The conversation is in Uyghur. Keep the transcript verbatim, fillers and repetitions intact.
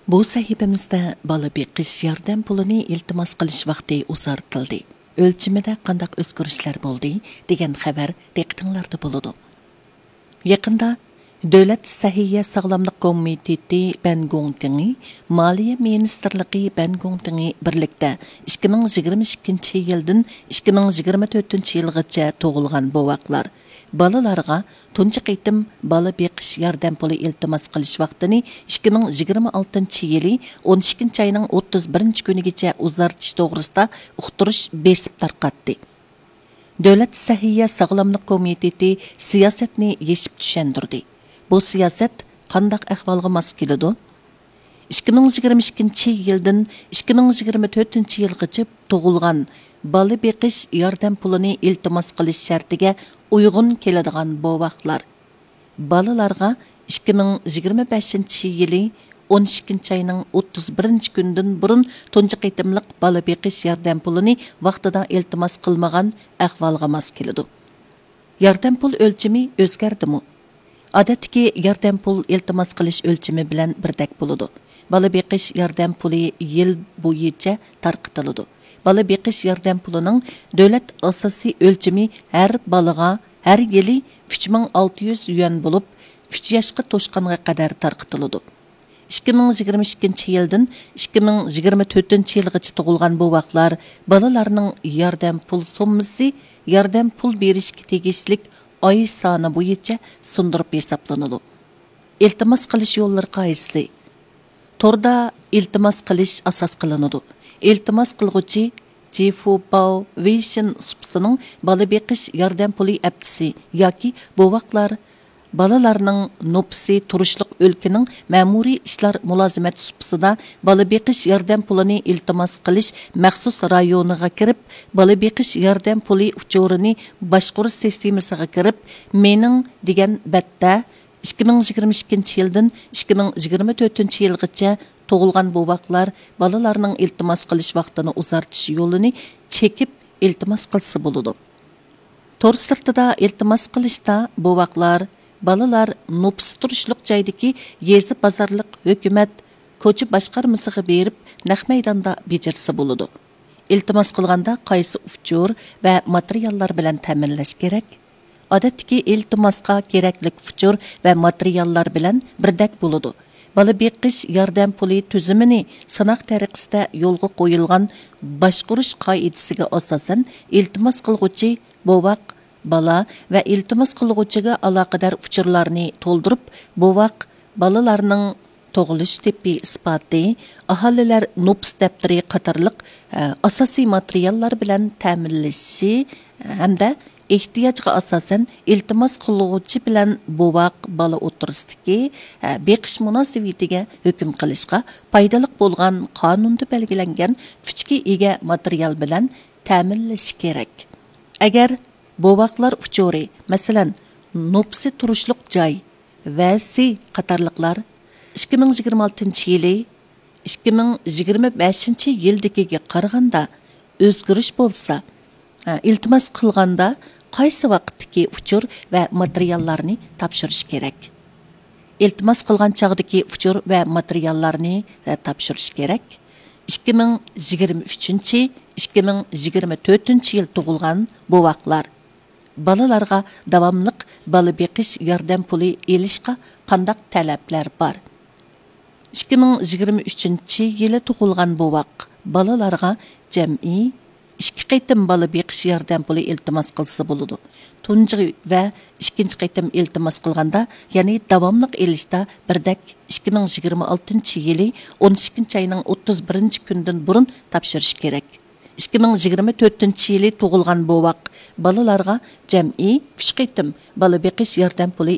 بۇ سەھىپىمىزدە بالا بېقىش ياردەم پۇلىنى ئىلتىماس قىلىش ۋاقتى ئۇزارتىلدى، ئۆلچىمىدە قانداق ئۆزگىرىشلەر بولدى دېگەن خەۋەر دىققىتىڭلاردا بولىدۇ. يېقىندا دۆلەت سەھىيە ساغلاملىق كومىتېتى بەنگوڭتىڭى، مالىيە مىنىستىرلىقى بەنگوڭتىڭى بىرلىكتە ئىككى مىڭ يىگىرمە ئىككىنچى يىلدىن ئىككى مىڭ يىگىرمە تۆتىنچى يىلغىچە تۇغۇلغان بوۋاقلار، بالىلارغا تۇنجى قېتىم بالا بېقىش ياردەم پۇلى ئىلتىماس قىلىش ۋاقتىنى ئىككى مىڭ يىگىرمە ئالتىنچى يىلى ئون ئىككىنچى ئاينىڭ ئوتتۇز بىرىنچى كۈنىگىچە ئۇزارتىش توغرىسىدا ئۇقتۇرۇش بېسىپ تارقاتتى. دۆلەت سەھىيە ساغلاملىق كومىتېتى سىياسەتنى يېشىپ چۈشەندۈردى. بۇ سىياسەت قانداق ئەھۋالغا ماس كېلىدۇ؟ ئىككى مىڭ يىگىرمە ئىككىنچى يىلدىن ئىككى مىڭ يىگىرمە تۆتىنچى يىلغىچە تۇغۇلغان، بالا بېقىش ياردەم پۇلىنى ئىلتىماس قىلىش شەرتىگە ئۇيغۇن كېلىدىغان بوۋاقلار، بالىلارغا ئىككى مىڭ يىگىرمە بەشىنچى يىلى ئون ئىككىنچى ئاينىڭ ئوتتۇز بىرىنچى كۈنىدىن بۇرۇن تۇنجى قېتىملىق بالا بېقىش ياردەم پۇلىنى ۋاقتىدا ئىلتىماس قىلمىغان ئەھۋالغا ماس كېلىدۇ. ياردەم پۇل ئۆلچىمى ئۆزگەردىمۇ؟ ئادەتتىكى ياردەم پۇل ئىلتىماس قىلىش ئۆلچىمى بىلەن بىردەك بولىدۇ. بالا بېقىش ياردەم پۇلى يىل بويىچە تارقىتىلىدۇ. بالا بېقىش ياردەم پۇلىنىڭ دۆلەت ئاساسىي ئۆلچىمى ھەر بالىغا ھەر يىلى ئۈچ مىڭ ئالتە يۈز يۈەن بولۇپ، ئۈچ ياشقا توشقانغا قەدەر تارقىتىلىدۇ. ئىككى مىڭ يىگىرمە ئىككىنچى يىلدىن ئىككى مىڭ يىگىرمە تۆتىنچى يىلغىچە تۇغۇلغان بوۋاقلار، بالىلارنىڭ ياردەم پۇل سوممىسى ياردەم پۇل بېرىشكە تېگىشلىك ئاي سانى بويىچە سۇندۇرۇپ ھېسابلىنىدۇ. ئىلتىماس قىلىش يوللىرى قايسى؟ توردا ئىلتىماس قىلىش ئاساس قىلىنىدۇ. ئىلتىماس قىلغۇچى جىفۇباۋ ۋېيشىن سۇپىسىنىڭ بالا بېقىش ياردەم پۇلى ئەپتىسى ياكى بوۋاقلار، بالىلارنىڭ نوپۇسى تۇرۇشلۇق ئۆلكىنىڭ مەمۇرىي ئىشلار مۇلازىمەت سۇپىسىدا بالا بېقىش ياردەم پۇلىنى ئىلتىماس قىلىش مەخسۇس رايونىغا كىرىپ، بالا بېقىش ياردەم پۇلى ئۇچۇرىنى باشقۇرۇش سىستېمىسىغا كىرىپ، مېنىڭ دېگەن بەتتە، ئىككى مىڭ يىگىرمە ئىككىنچى يىلدىن ئىككى مىڭ يىگىرمە تۆتىنچى يىلغىچە تۇغۇلغان بوۋاقلار بالىلارنىڭ ئىلتىماس قىلىش ۋاقتىنى ئۇزارتىش يولىنى چېكىپ ئىلتىماس قىلسا بولىدۇ. تور سىرتىدا ئىلتىماس قىلىشتا بوۋاقلار، بالىلار نوپۇس تۇرۇشلۇق جايدىكى يېزا، بازارلىق، ھۆكۈمەت، كوچا باشقارمىسىغا بېرىپ نەق مەيداندا بېجىرسە بولىدۇ. ئىلتىماس قىلغاندا قايسى ئۇچۇر ۋە ماتېرىياللار بىلەن تەمىنلەش كېرەك؟ ئادەتتىكى ئىلتىماسقا كېرەكلىك ئۇچۇر ۋە ماتېرىياللار بىلەن بىردەك بولىدۇ. بالا بېقىش ياردەم پۇلى تۈزۈمىنى سىناق تەرىقىسىدە يولغا قويۇلغان باشقۇرۇش قائىدىسىگە ئاساسەن، ئىلتىماس قىلغۇچى، بوۋاق، بالا ۋە ئىلتىماس قىلغۇچىغا ئالاقىدار ئۇچۇرلارنى تولدۇرۇپ، بوۋاق، بالىلارنىڭ تۇغۇلۇش تىپى ئىسپاتى، ئاھالىلەر نوپۇس دەپتىرى قاتارلىق، ئە، ئاساسىي ماتېرىياللار بىلەن تەمىنلىشى ھەمدە ئېھتىياجغا ئاساسەن ئىلتىماس قىلغۇچى بىلەن بوۋاق، بالا ئوتتۇرىسىدىكى، ئە، بېقىش مۇناسىۋىتىگە ھۆكۈم قىلىشقا پايدىلىق بولغان قانۇندا بەلگىلەنگەن كۈچكە ئىگە ماتېرىيال بىلەن تەمىنلىشى كېرەك. ئەگەر بوۋاقلار ئۇچۇرى، مەسىلەن، نوپۇسى تۇرۇشلۇق جاي، ۋەسى قاتارلىقلار ئىككى مىڭ يىگىرمە ئالتىنچى يىلى ئىككى مىڭ يىگىرمە بەشىنچى يىلدىكىگە قارىغاندا ئۆزگىرىش بولسا، ئىلتىماس قىلغاندا قايسى ۋاقىتتىكى ئۇچۇر ۋە ماتېرىياللارنى تاپشۇرۇش كېرەك. ئىلتىماس قىلغان چاغدىكى ئۇچۇر ۋە ماتېرىياللارنى، ئە، تاپشۇرۇش كېرەك. ئىككى مىڭ يىگىرمە ئۈچىنچى، ئىككى مىڭ يىگىرمە تۆتىنچى يىل تۇغۇلغان بوۋاقلار، بالىلارغا داۋاملىق بالا بېقىش ياردەم پۇلى ئېلىشقا قانداق تەلەپلەر بار؟ ئىككى مىڭ يىگىرمە ئۈچىنچى يىلى تۇغۇلغان بوۋاق، بالىلارغا جەمئىي ئىككى قېتىم بالا بېقىش ياردەم پۇلى ئىلتىماس قىلسا بولىدۇ. تۇنجى ۋە ئىككىنچى قېتىم ئىلتىماس قىلغاندا، يەنى داۋاملىق ئېلىشتا بىردەك ئىككى مىڭ يىگىرمە ئالتىنچى يىلى ئون ئىككىنچى ئاينىڭ ئوتتۇز بىرىنچى كۈنىدىن بۇرۇن تاپشۇرۇش كېرەك. ئىككى مىڭ يىگىرمە تۆتىنچى يىلى تۇغۇلغان بوۋاق، بالىلارغا جەمئىي ئۈچ قېتىم بالا بېقىش ياردەم پۇلى